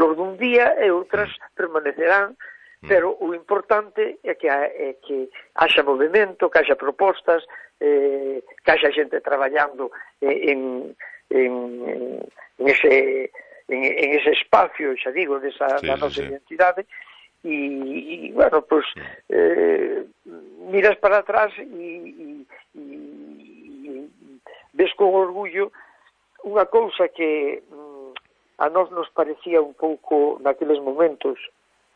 flor dun día e outras permanecerán, pero o importante é que haxa movimento, que haxa propostas, que haxa xente traballando en ese espacio, xa digo, da nosa identidade, e bueno, pues miras para atrás e ves con orgullo unha cousa que a nós nos parecía un pouco naqueles momentos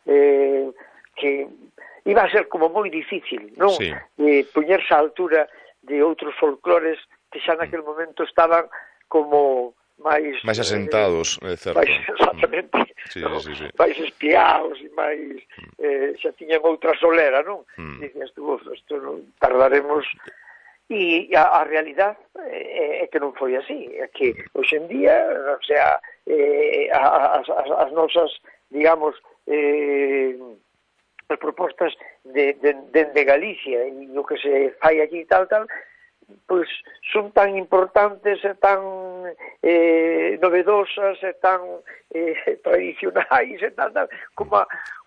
que iba a ser como moi difícil, non? Sí. Poñerse á altura de outros folclores que xa naquel momento estaban como máis asentados, é certo. Exactamente. Sí. Máis espiados e máis xa tiñan outra solera, non? Dicías tú, isto non tardaremos. E a realidade é que non foi así, é que hoxe en día, o sea, as nosas, digamos, as propostas de Galicia e o que se fai aquí tal, pois son tan importantes e tan novedosas e tan tradicionais e tal,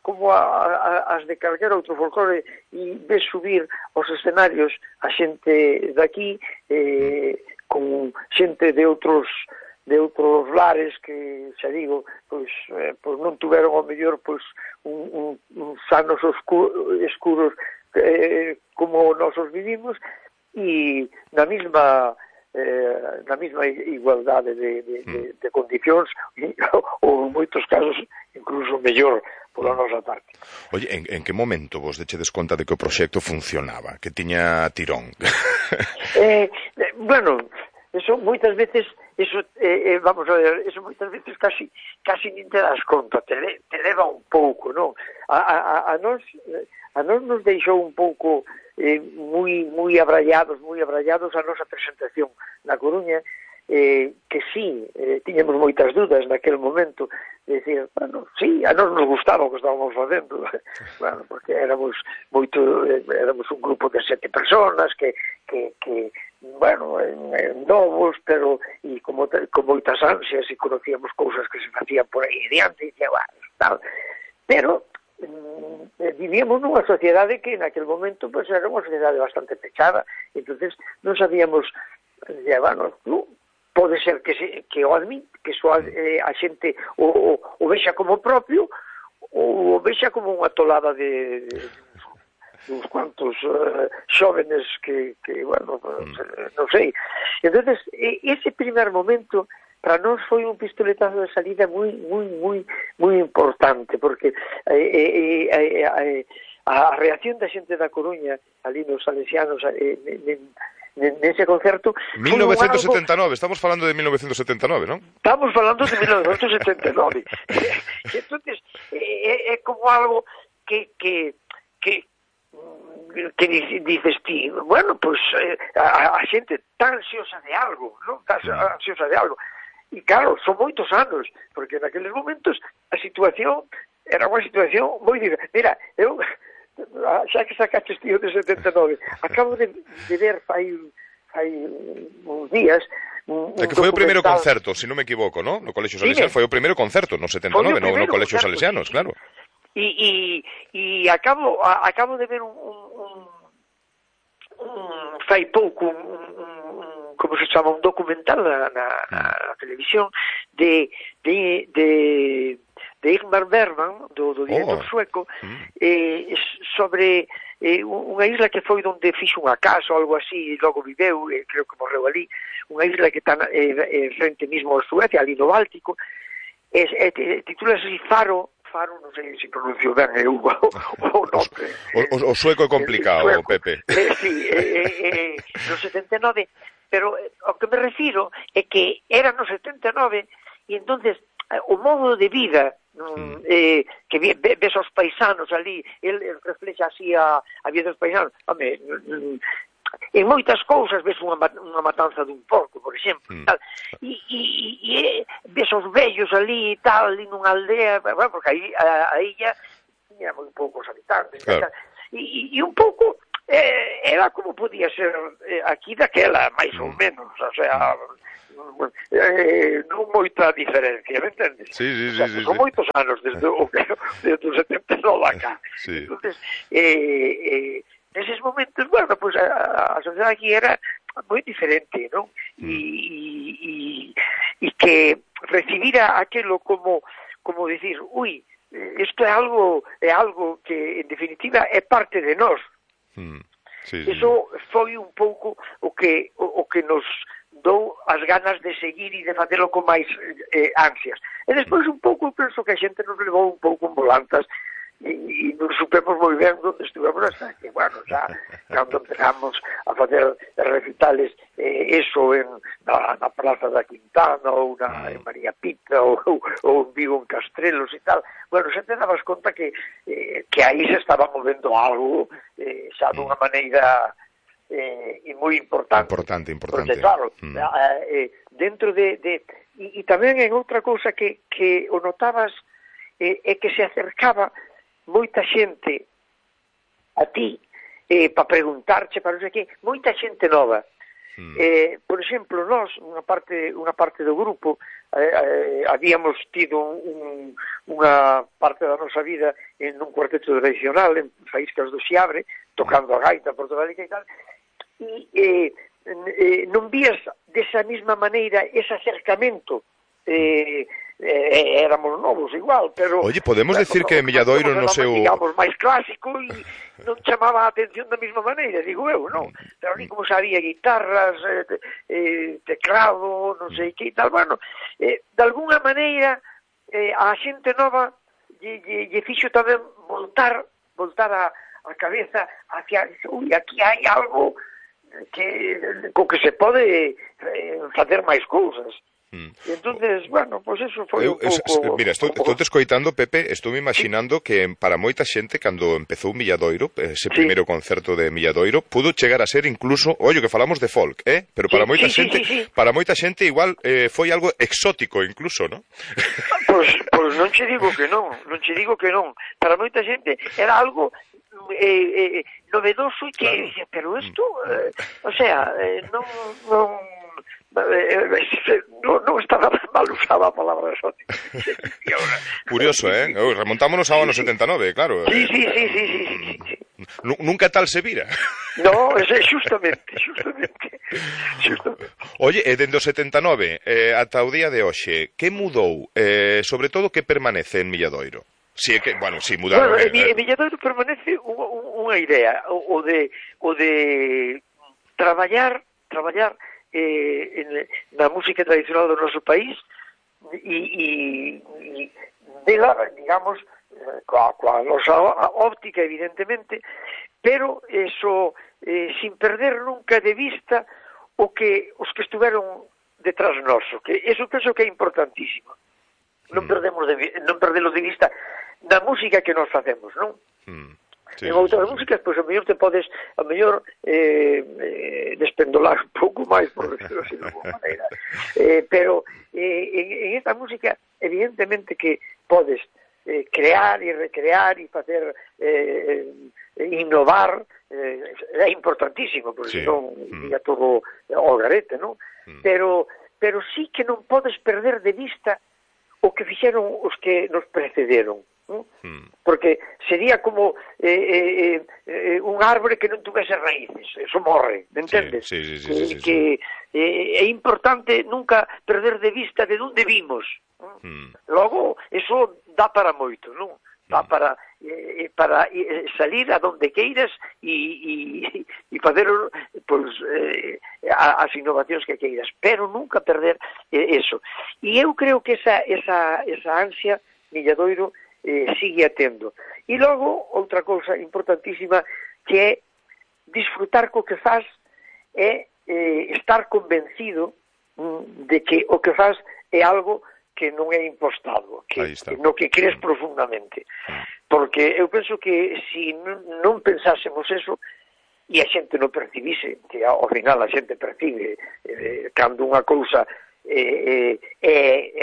como as de calquer outro folclore, e ves subir aos escenarios a xente daqui con xente de outros lares que, xa digo, pois non tuveron ao mellor uns anos escuros como nosos vivimos, e na mesma igualdade de condicións, ou en moitos casos incluso mellor pola nosa parte. Oye, en que momento vos dechedes conta de que o proxecto funcionaba, que tiña tirón? Bueno, eso moitas veces vamos a ver, eso moitas veces casi nin te das conta, te leva un pouco, non? A nós nos deixou un pouco moi abrallados a nosa presentación na Coruña, que sí, tiñamos moitas dudas naquel momento, de decir, bueno, sí, a nós nos gustaba o que estábamos facendo, bueno, porque éramos un grupo de 7 personas que bueno, novos, pero e con moitas ansias, e conocíamos cousas que se facían por aí adiante, e tal, pero vivíamos nunha sociedade que naquel momento pues era unha sociedade bastante pechada, entonces non sabíamos, bueno, pode ser que o admite, que a xente o vexa como propio, ou o vexa como unha tolada de uns cuantos xóvenes que bueno, non sei. Entonces, ese primer momento para nós foi un pistoletazo de salida moi importante, porque a reacción da xente da Coruña, ali nos salesianos, nese concerto... 1979, estamos falando de 1979, non? Estamos falando de 1979. Entonces, é como algo que dices ti, bueno, pues a xente tan ansiosa de algo, non? Tan ansiosa de algo. E claro, son moitos anos, porque naqueles momentos a situación era unha situación moi difícil. Mira, eu, xa que sacaste tío de 79, acabo de ver fai uns días É que foi o primeiro concerto, se non me equivoco, ¿no? No Colexio Salesiano, foi o primeiro concerto no 79, no Colexio Salesianos, claro. E acabo de ver fai pouco como se chama, un documental na televisión de Ingmar Bergman, do director sueco, sobre unha isla que foi onde fixo unha casa ou algo así, e logo viveu, creo que morreu ali, unha isla que está frente mismo a Suecia, ali no Báltico, titula así Faro, non sei se pronuncio ben o nome. O sueco é complicado, Pepe. Sí, no 79, pero ao que me refiro é que era no 79 e entonces o modo de vida que ves aos paisanos ali, el reflexa así a vida dos paisanos, home, en moitas cousas ves unha matanza dun porco, por exemplo, tal, e ves os vellos ali e tal, ali nunha aldea, bueno, porque a illa tiña moi poucos habitantes, claro. E un pouco era como podía ser aquí daquela, máis ou menos, o sea, non moita diferencia, me entendes? Sí. Son moitos anos desde o 79 acá. Sí. Entonces, neses momentos, bueno, pues a sociedade aquí era moi diferente, non? E que recibira aquelo como decir, isto é algo que en definitiva é parte de nós. Eso foi un pouco o que nos dou as ganas de seguir e de facelo con máis ansias. E despois un pouco penso que a xente nos levou un pouco en volantas e non supemos moi ben onde estivemos hasta que, bueno, xa cando empezamos a facer recitales eso na Praza da Quintana ou en María Pita ou en Vigo en Castrelos e tal, bueno, xa te dabas conta que aí se estaba movendo algo xa dunha maneira moi importante. Porque, claro, dentro de e tamén en outra cousa que o notabas é que se acercaba moita xente a ti para preguntarche, para non sei que, moita xente nova. Por exemplo, nós, unha parte do grupo, habíamos tido unha parte da nosa vida en un cuarteto tradicional en Faíscas do Xiabre, tocando a gaita portugálica e tal, e non vías desa mesma maneira ese acercamento. Éramos novos igual, pero... Oye, podemos decir que Milladoiro no seu... digamos, máis clásico e non chamaba a atención da mesma maneira, digo eu, non? Pero ni como sabía guitarras, teclado, non sei que e tal, bueno, de alguna maneira a xente nova lle fixo tamén voltar a cabeza hacia, aquí hai algo co que se pode facer máis cousas. Entonces, bueno, pues eso foi un pouco... Mira, estou te escoitando, Pepe, estou me imaginando que para moita xente, cando empezou Milladoiro, ese primeiro concerto de Milladoiro, pudo chegar a ser incluso, que falamos de folk, pero para moita xente igual foi algo exótico incluso, ¿no? Pois non che digo que non. Para moita xente era algo novedoso e que dice, pero isto, o sea, non estaba mal usada a palabra exótica. Curioso, remontámonos ao ano 79, claro. Sí. Nunca tal se vira. No, justamente. Oye, dende o 79 ata o día de hoxe, que mudou? Sobre todo, que permanece en Milladoiro? Si é que, si mudaron... Bueno, en Milladoiro permanece unha idea, o de traballar na música tradicional do noso país e dela, digamos, coa nosa óptica, evidentemente, pero eso sin perder nunca de vista os que estuveron detrás noso, que eso penso que é importantísimo. Non perdelo de vista na música que nos facemos, non? En outras músicas, pois a mellor te podes despendolar un pouco máis, por decirlo así de alguma maneira, pero en esta música evidentemente que podes crear e recrear e facer innovar, é importantísimo, porque senón ia todo ao garete, non? Pero sí que non podes perder de vista o que fixeron os que nos precederon, ¿no? Porque sería como un árbore que non tuvese raíces, eso morre, me entendes? Sí. Que é importante nunca perder de vista de onde vimos. Logo, eso dá para moito, non? Dá para salir a donde queiras e facer as innovacións que queiras, pero nunca perder eso. E eu creo que esa ansia Milladoiro sigue atendo. E logo, outra cousa importantísima, que é disfrutar co que faz, é estar convencido de que o que faz é algo que non é impostado, no que crees profundamente. Porque eu penso que se non pensásemos eso, e a xente non percibise, que ao final a xente percibe cando unha cousa é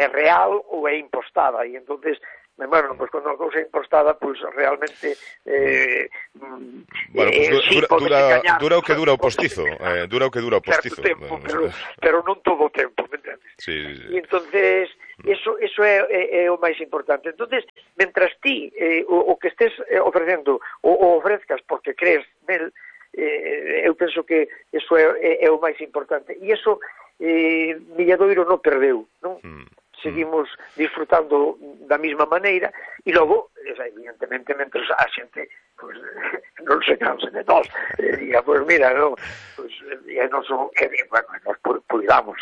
real ou é impostada, e entonces bueno, pues cando a cousa é impostada, pues realmente bueno, pues dura o que dura o postizo, dura o que dura o postizo. Certo tempo, pero non todo o tempo, me entendes? Sí. E entonces eso é o máis importante. Entonces, mentras ti o que estés ofrecendo o ofrezcas porque crees nel, eu penso que eso é o máis importante. E eso Milladoiro non perdeu, non? Seguimos disfrutando da mesma maneira e logo, evidentemente, mentre a xente pues, non se canse de nós diga, pues mira, no, pues, non son, bueno, nos cuidamos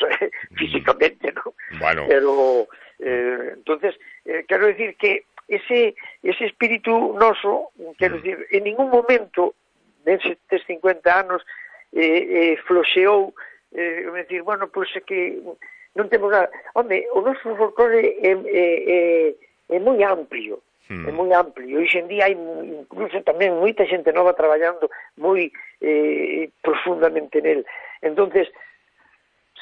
físicamente, ¿no? Bueno. Pero entonces quero decir que ese espíritu noso, quero decir, en ningún momento nestes 50 anos floxeou, decir, bueno, pois é que non temos nada. Home, o noso folclore é moi amplio, é moi amplio. Hoxe en día hai incluso tamén moita xente nova traballando moi profundamente nel. Entonces,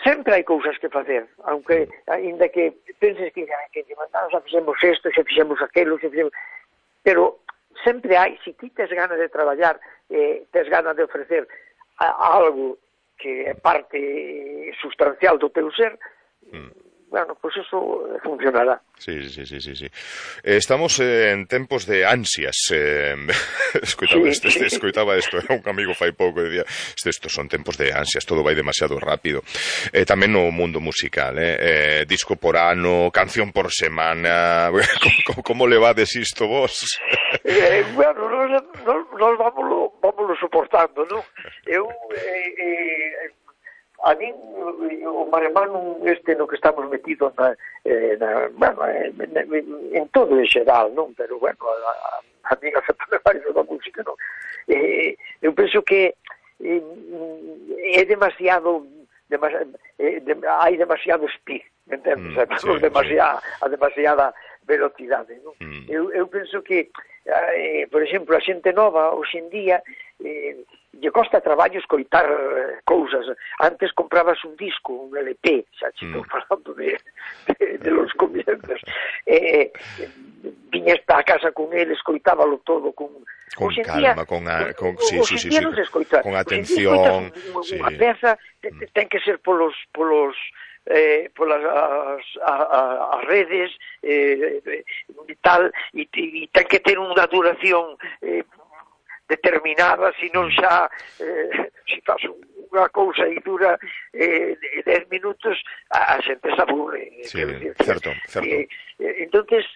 sempre hai cousas que facer, aunque, ainda que penses que xa fixemos isto, xa fixemos aquilo, pero sempre hai, se ti tes ganas de traballar, tes ganas de ofrecer algo que é parte sustancial do teu ser, bueno, pues eso funcionará. Sí. Estamos en tempos de ansias. Escoitaba isto, un amigo fai pouco dicía, estos son tempos de ansias, todo vai demasiado rápido. Tamén no mundo musical, disco por ano, canción por semana. Como levades isto vos? Bueno, nos vámoslo soportando, non? Eu a min o maremán este no que estamos metidos en todo en xeral, non? Pero bueno, a min afecta máis da música, non? Eu penso que é demasiado hai demasiado speed, me entendes? A demasiada velocidade, non? Eu penso que por exemplo, a xente nova hoxe en día lle costa traballo escoitar cousas. Antes comprabas un disco, un LP, xa estou falando de los comienzos, viñas para a casa con ele, escoitábalo todo con calma, con atención. Unha peza ten que ser polas as redes e tal, e ten que ter unha duración determinada, se non xa se faz unha cousa e dura 10 minutos, a xente se aburre. Sí, certo. Entonces,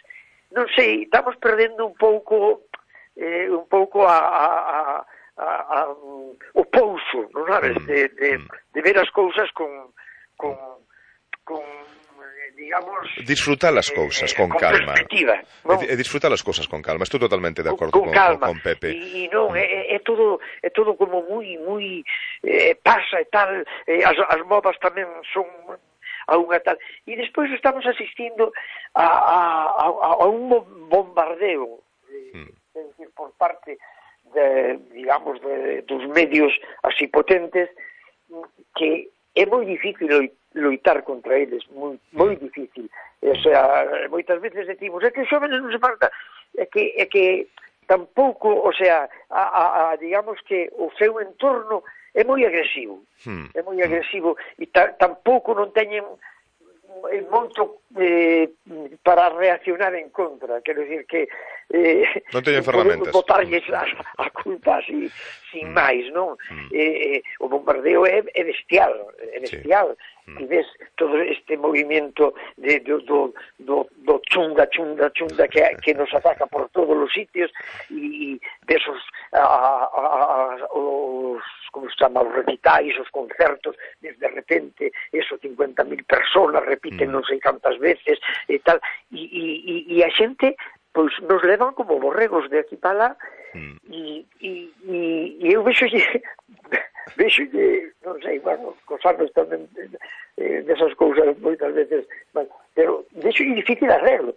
non sei, estamos perdendo un pouco o pouso, non sabes, de ver as cousas con digamos... Disfrutar as cousas con calma. Perspectiva, non? Disfrutar as cousas con calma. Estou totalmente de acordo con Pepe. E non, é todo como moi pasa e tal, as modas tamén son a unha tal. E despois estamos asistindo a un bombardeo, é dicir, por parte digamos, dos medios así potentes, que é moi difícil loitar contra eles, moi difícil. O sea, moitas veces decimos, é que os xóvenes non se falta, é que tampouco, o sea, digamos que o seu entorno é moi agresivo, e tampouco non teñen moito para reaccionar en contra, quero dicir que non teñen ferramentas, botarlles a culpa así sin máis, non? O bombardeo é bestial, e ves todo este movimento do chunga que nos ataca por todos os sitios, e ves os como se chama, os recitais, os concertos, de repente, 50.000 personas repiten non sei cantas veces, e tal, e a xente, pois, nos levan como borregos de aquí para lá, e eu vexolle, non sei, bueno, cos anos tamén desas cousas moitas veces, pero vexolle difícil arreglo.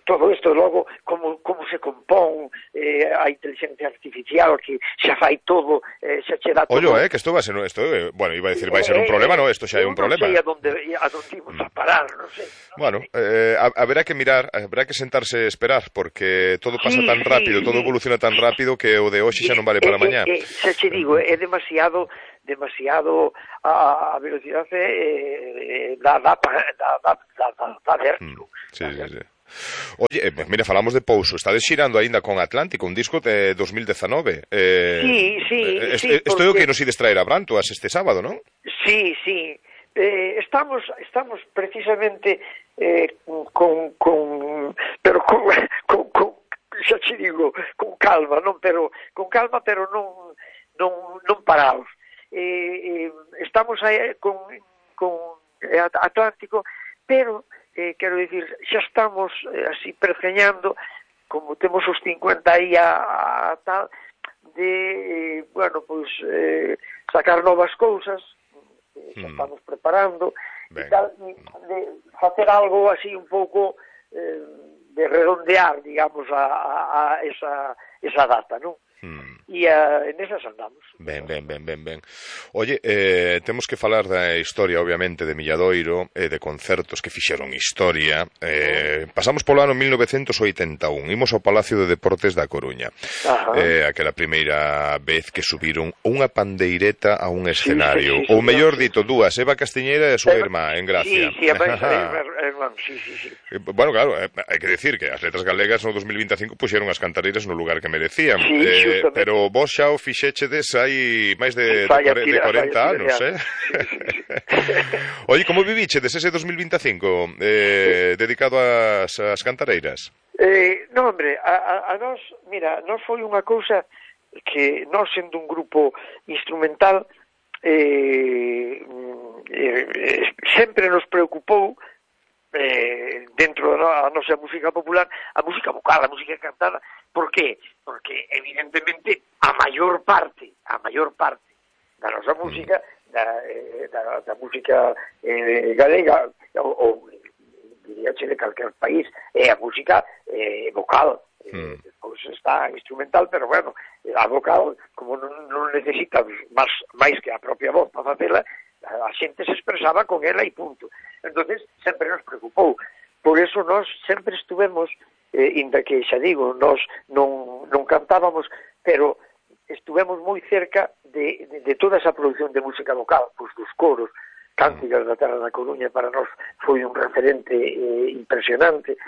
todo isto logo como se compón a inteligencia artificial que xa fai todo, xa che dá todo. Ollo, que isto vai ser, bueno, iba a decir, vai ser un problema, no, isto xa é un problema. Non sei a donde imos a parar, non sei. Bueno, haberá que mirar, haberá que sentarse e esperar, porque todo pasa tan rápido, todo evoluciona tan rápido que o de hoxe xa non vale para mañá. Xa che digo, é demasiado a velocidade da vértigo. Sí. Oye, mira, falamos de Pouso, estades xirando aínda con Atlántico, un disco de 2019. Sí. Isto é o que nos ides traer a Brantoas este sábado, non? Sí. Estamos precisamente con xa che digo, con calma, pero non parados. Estamos aí con Atlántico, pero quero dicir, xa estamos así pergeñando, como temos os 50 aí a tal, de, bueno, pois, sacar novas cousas, xa estamos preparando, e tal, de facer algo así un pouco de redondear, digamos, a esa data, non? E nesas andamos. Ben. Oye, temos que falar da historia, obviamente, de Milladoiro, de concertos que fixeron historia. Pasamos polo ano 1981, imos ao Palacio de Deportes da Coruña. Aquela primeira vez que subiron unha pandeireta a un escenario. Ou mellor dito, dúas, Eva Castiñeira e a súa irmá, en Gracia. Sí, Bueno, claro, hai que decir que as letras galegas no 2025 puxeron as cantareiras no lugar que merecían. Pero vos xa o fixéchedes hai máis de 40 anos, Oye, como vivíchedes ese 2025 dedicado ás cantareiras? Non, hombre, a nós, mira, nós foi unha cousa que nós sendo un grupo instrumental sempre nos preocupou dentro da nosa música popular, a música vocal, a música cantada. Por qué? Porque evidentemente a maior parte da nosa música, da música galega, ou diríache de calquer país, é a música vocal. Pois está instrumental, pero bueno, a vocal, como non necesita máis que a propia voz para facela, a xente se expresaba con ela e punto. Entonces sempre nos preocupou. Por eso nós sempre estuvemos, inda que xa digo, nós non cantábamos, pero estuvemos moi cerca de toda esa produción de música vocal, pois dos coros. Cánticas da Terra da Coruña para nós foi un referente impresionante.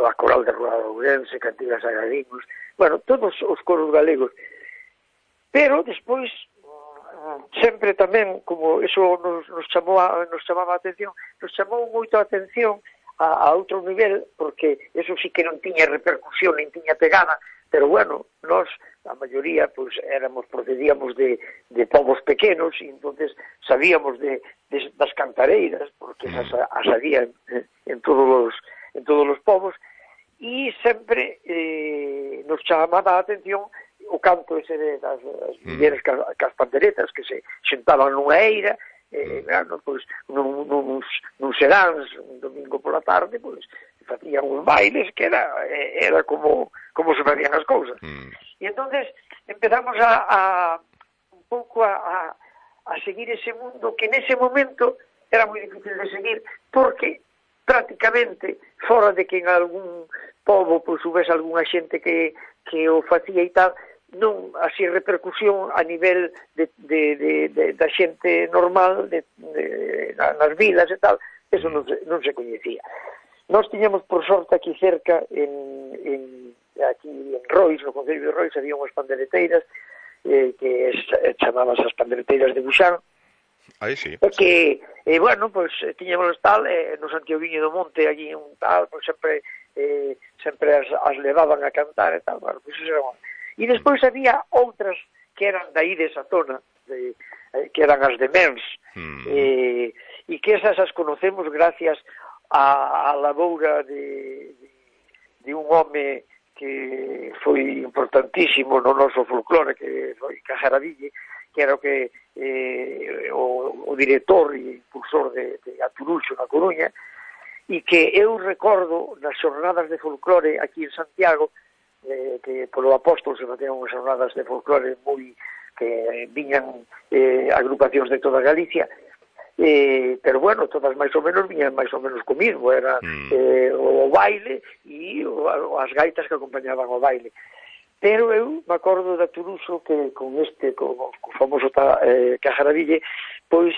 A Coral de Rua de Ourense, Cantigas a Galinos, bueno, todos os coros galegos. Pero despois sempre tamén, como eso nos chamaba a atención, nos chamou moito a atención a outro nivel, porque eso sí que non tiña repercusión, nin tiña pegada, pero bueno, nós, a maioría, pois, procedíamos de povos pequenos, e entonces sabíamos das cantareiras, porque as había en todos os povos, e sempre nos chamaba a atención o canto ese das mulleres cas panderetas que se xentaban nunha eira, pois, nuns seráns, un domingo pola tarde, pois, facían uns bailes que era como se facían as cousas. E entonces empezamos un pouco a seguir ese mundo que nese momento era moi difícil de seguir, porque prácticamente, fora de que en algún pobo pois houvese algunha xente que o facía e tal, non así repercusión a nivel da xente normal nas vilas e tal, eso non se coñecía. Nós tiñamos por sorte aquí cerca aquí en Rois, no Concello de Rois, había unhas pandereteiras que chamaban as pandereteiras de Buxán. Aí sí. Que, bueno, pois tiñamos tal, no Santiaguiño do Monte, aquí un tal, pois sempre as levaban a cantar e tal, bueno, pois eso era. E despois había outras que eran daí desa zona, que eran as de Mens, e que esas as conocemos gracias a laboura de un home que foi importantísimo no noso folclore, que foi Cajaraville, que era o director e impulsor de Aturuxo na Coruña, e que eu recordo nas xornadas de folclore aquí en Santiago, que polo Apóstol se facían unhas xornadas de folclore moi que viñan agrupacións de toda Galicia, pero bueno, todas máis ou menos viñan máis ou menos comigo, era o baile e as gaitas que acompañaban o baile. Pero eu me acordo da Turuso que con o famoso Cajaraville, pois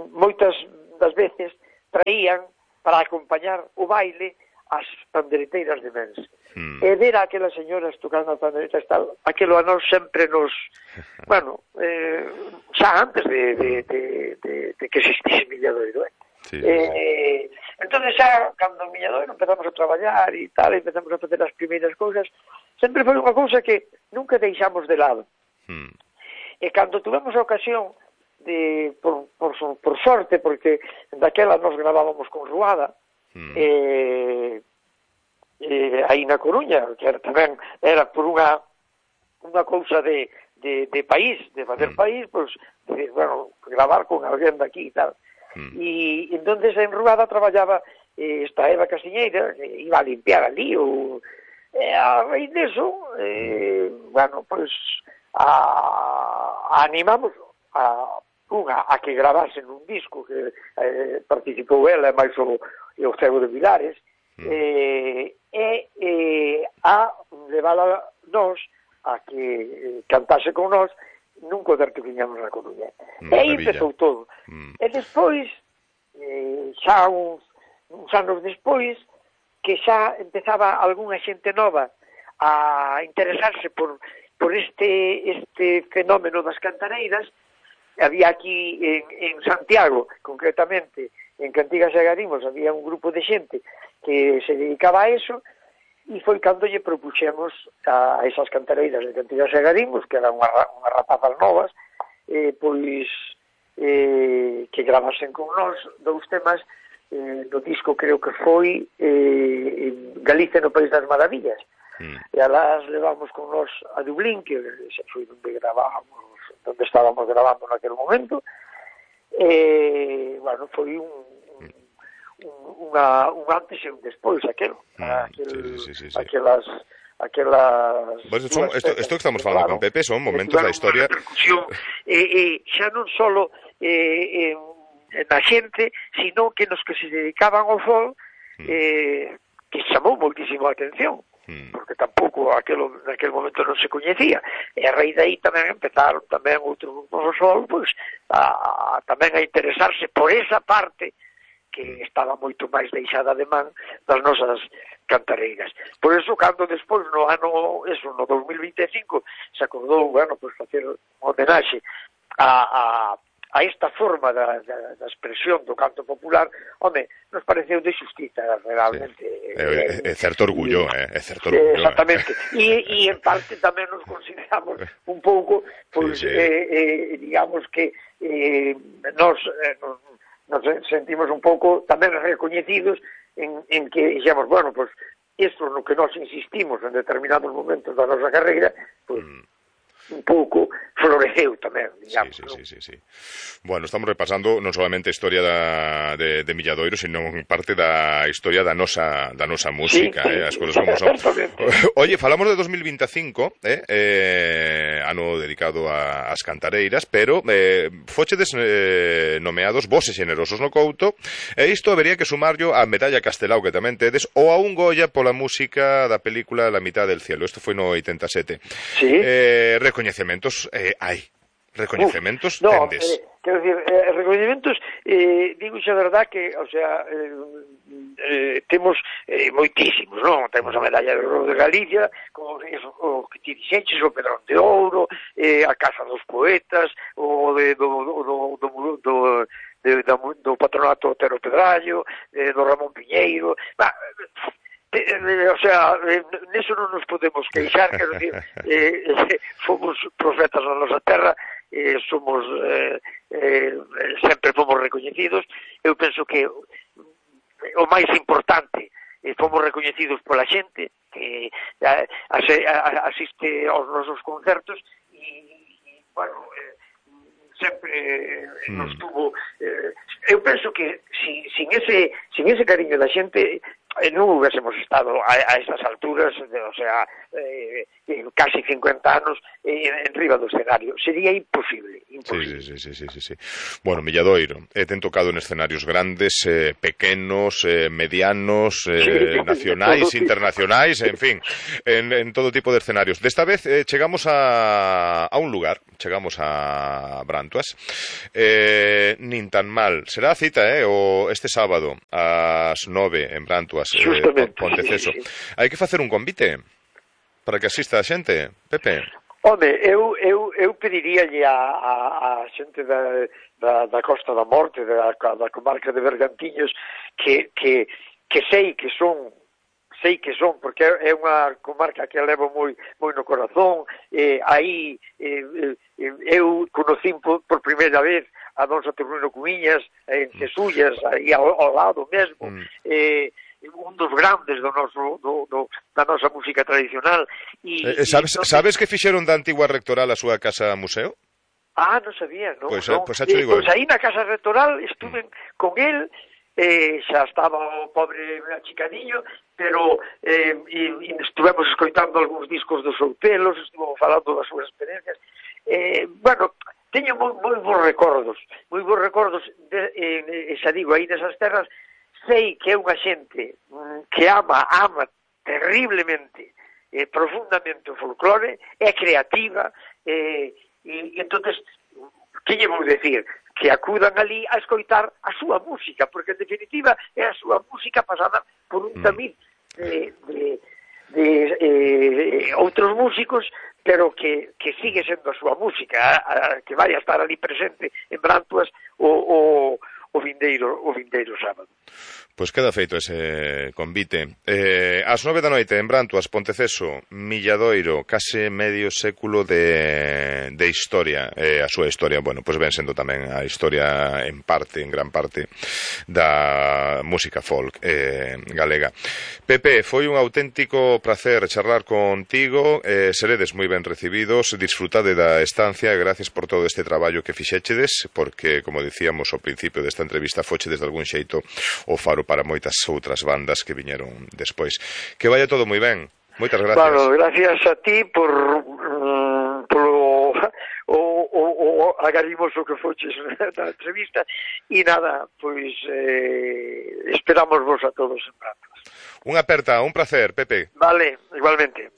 moitas das veces traían para acompañar o baile as pandereteiras de Mens. E ver a aquelas señoras tocando as panderetas e tal, aquilo a nós sempre nos... Bueno, xa antes de que existise Milladoiro, Sí. Entonces xa, cando en Milladoiro empezamos a traballar e tal, empezamos a facer as primeiras cousas, sempre foi unha cousa que nunca deixamos de lado. E cando tuvemos a ocasión de, por sorte, porque daquela nos gravábamos con Ruada, aí na Coruña, que tamén era por unha cousa de país, de facer país, pois, bueno, gravar con alguén daqui e tal. E entonces en Ruada traballaba esta Eva Casiñeira, que iba a limpiar ali, a raíz deso, bueno, pois, animamos a que gravasen un disco que participou ela e máis o Cego de Vilares, a levala nós a que cantase con nós nun concerto que viñamos na Coruña. E aí empezou todo. E despois, xa uns anos despois, que xa empezaba algunha xente nova a interesarse por este fenómeno das cantareiras. Había aquí en Santiago, concretamente, en Cantigas e Agarimos, había un grupo de xente que se dedicaba a eso, e foi cando lle propuxemos a esas cantareiras de Cantigas e Agarimos, que eran unhas rapazas novas, pois que gravasen con nós 2 temas no disco, creo que foi Galicia no País das Maravillas. E alas levamos con nós a Dublín, que xa foi onde estábamos gravando naquele momento. Bueno, foi un antes e un despois, aquelas... Bueno, esto que estamos falando con Pepe son momentos da historia... Xa non só na xente, sino que nos que se dedicaban ao folk, que chamou moitísimo a atención, porque tampouco naquele momento non se coñecía, e a raíz de aí tamén empezaron tamén outros grupos do sol, pois, tamén a interesarse por esa parte que estaba moito máis deixada de man das nosas cantareiras. Por eso, cando despois, no 2025, se acordou, bueno, pois facer un homenaxe a esta forma da expresión do canto popular, home, nos pareceu de xustiza, realmente. É certo orgullo, é certo orgullo. Exactamente. E en parte tamén nos consideramos un pouco, pois, digamos que nos sentimos un pouco tamén recoñecidos en que dixemos, bueno, pois, isto no que nos insistimos en determinados momentos da nosa carreira, pois, un pouco floreceu tamén, digamos. Sí. Bueno, estamos repasando non solamente a historia de Milladoiro, sino parte da historia da nosa música, as cousas como son. Oye, falamos de 2025, ano dedicado ás cantareiras, pero fochedes nomeados Voces Generosos no Couto, e isto habería que sumarlo a Medalla Castelao que tamén tedes, ou a un Goya pola música da película La mitad del cielo. Isto foi no 87. Sí. Recoñecementos hai. Recoñecementos tendes. Quero dicir, recoñecementos, digo xa verdad que, o sea, temos moitísimos, non? Temos a Medalla de Ouro de Galicia, como o que ti dixeches, o Pedrón de Ouro, a Casa dos Poetas, o do Patronato Otero Pedrallo, do Ramón Piñeiro, o sea, neso non nos podemos queixar, quero dicir, fomos profetas na nosa terra, somos sempre fomos recoñecidos. Eu penso que o máis importante, fomos recoñecidos pola xente que asiste aos nosos concertos e bueno, sempre nos tuvo... eu penso que sin ese cariño da xente non hubiésemos estado a estas alturas, o sea, casi 50 anos en riba do escenario. Sería imposible. Sí. Bueno, Milladoiro, ten tocado en escenarios grandes, pequenos, medianos, nacionais, internacionais, en fin, en todo tipo de escenarios. Desta vez chegamos a un lugar, chegamos a Brantuas, nin tan mal. Será a cita, este sábado, ás 9 en Brantuas, Ponteceso. Sí. Hai que facer un convite para que asista a xente, Pepe. Home, eu pediríalle a xente da Costa da Morte, da comarca de Bergantiños, que sei que son, porque é unha comarca que levo moi no corazón. Aí eu conocín por primeira vez a don Saturnino Cumiñas en Cesullas, aí ao lado mesmo, un dos grandes da nosa música tradicional. Sabes que fixeron da antigua rectoral a súa casa museo? Non sabía, non? Pois xa te digo. Pois aí na casa rectoral estuve con el, xa estaba o pobre achicadiño, pero estuvemos escoitando algúns discos dos Outelos, estuvemos falando das súas experiencias. Bueno, teño moi bons recordos, xa digo, aí nesas terras. Sei que é unha xente que ama terriblemente, profundamente o folclore, é creativa, e entonces, que lle vou decir? Que acudan ali a escoitar a súa música, porque en definitiva é a súa música pasada por un tamiz de outros músicos, pero que sigue sendo a súa música, que vai a estar ali presente en Brantuas o vindeiro sábado. Pois queda feito ese convite. Ás 9 da noite en Brantuas, Ponteceso, Milladoiro, case medio século de historia. A súa historia, bueno, pois ven sendo tamén a historia en gran parte da música folk galega. Pepe, foi un auténtico placer charlar contigo, seredes moi ben recibidos, disfrutade da estancia, gracias por todo este traballo que fixéchedes, porque, como dicíamos ao principio desta entrevista, fochedes de algún xeito o faro para moitas outras bandas que viñeron despois. Que vaya todo moi ben. Moitas gracias. Bueno, gracias a ti por o agarimoso que foches na entrevista, e nada, pois esperamos vos a todos en Brantuas. Unha aperta, un placer, Pepe. Vale, igualmente.